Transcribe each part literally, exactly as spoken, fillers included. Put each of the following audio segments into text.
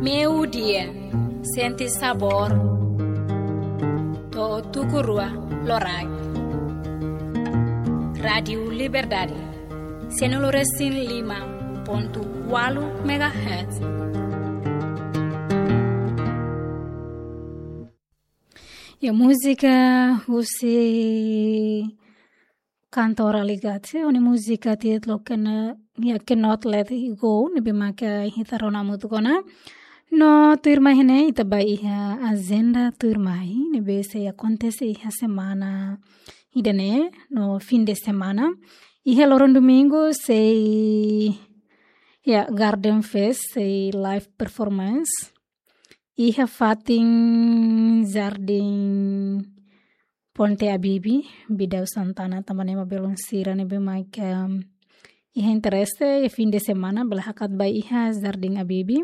Meio-dia, sente sabor. To'o tuku rua loraik. Rádiu Liberdade, cento e cinco e cinco ponto oito megahertz. Ya, múzika husi kantora Aligachi, ho nia múzika títulu Cannot, ya, Cannot Let It Go, ne'ebé maka ita rona hamutuk ona. No tuirmai ne'e ita ba iha ajenda tuirmai, ne'ebé sei akontese iha semana ida-ne'e, no fim de semana. Iha loron domingu sei, ya, Garden Fest, sei live performance. Iha fatin Jardín Ponte Abibi, Bidau Santana, tanba ne'e ema belun sira ne'ebé maka iha interese, iha fim de semana, bele hakat ba iha Jardín Abibi.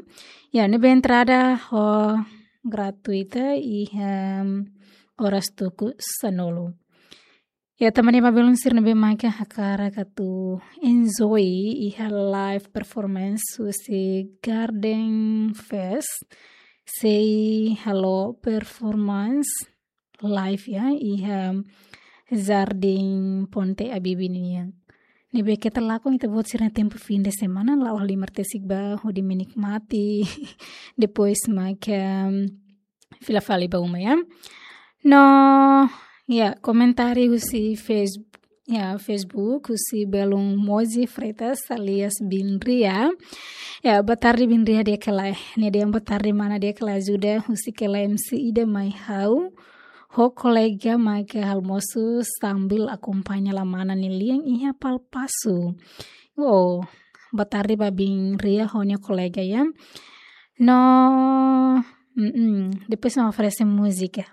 Ya, ne'ebé entrada ho gratuita, iha oras tuku sanulu. Ya, tanba ne'e ema belun sira ne'ebé maka hakarak atu enjoy iha live performance husi Garden Fest, sei halo performance live, ya, iha Jardín Ponte Abibi nian. Ne'ebé keta lakon ita-boot sira-nia tempu fim de semana, la'o halimar tesik ba hodi menikmati. Depois maka fila fali ba uma, ya. No, ya, komentáriu husi Face-, ya, Facebook, husi belun Mozi Freitas alias Bin Ria. Ya, boa tarde Bin Ria, di'ak ka lae. Nia dehan boa tarde mana, di'ak ka lae, ajuda husik hela M C ida mai ha'u ho kolega maka almosu sambil akompaña la mana nia lian iha Palpasu. Oh, boa tarde ba Bin Ria ho nia kolega, ya. No, mm-mm, depois nia oferese múzika.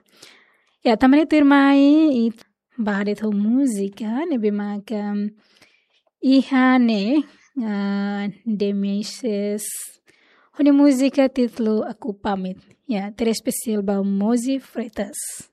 Ya, tanba ne'e tuirmai ita ba de'it ho múzika ne'ebé maka iha ne'e, ah, The Maces ho nia múzika títulu Aku Pamit. Ya, terus espesiál ba Mozi Freitas.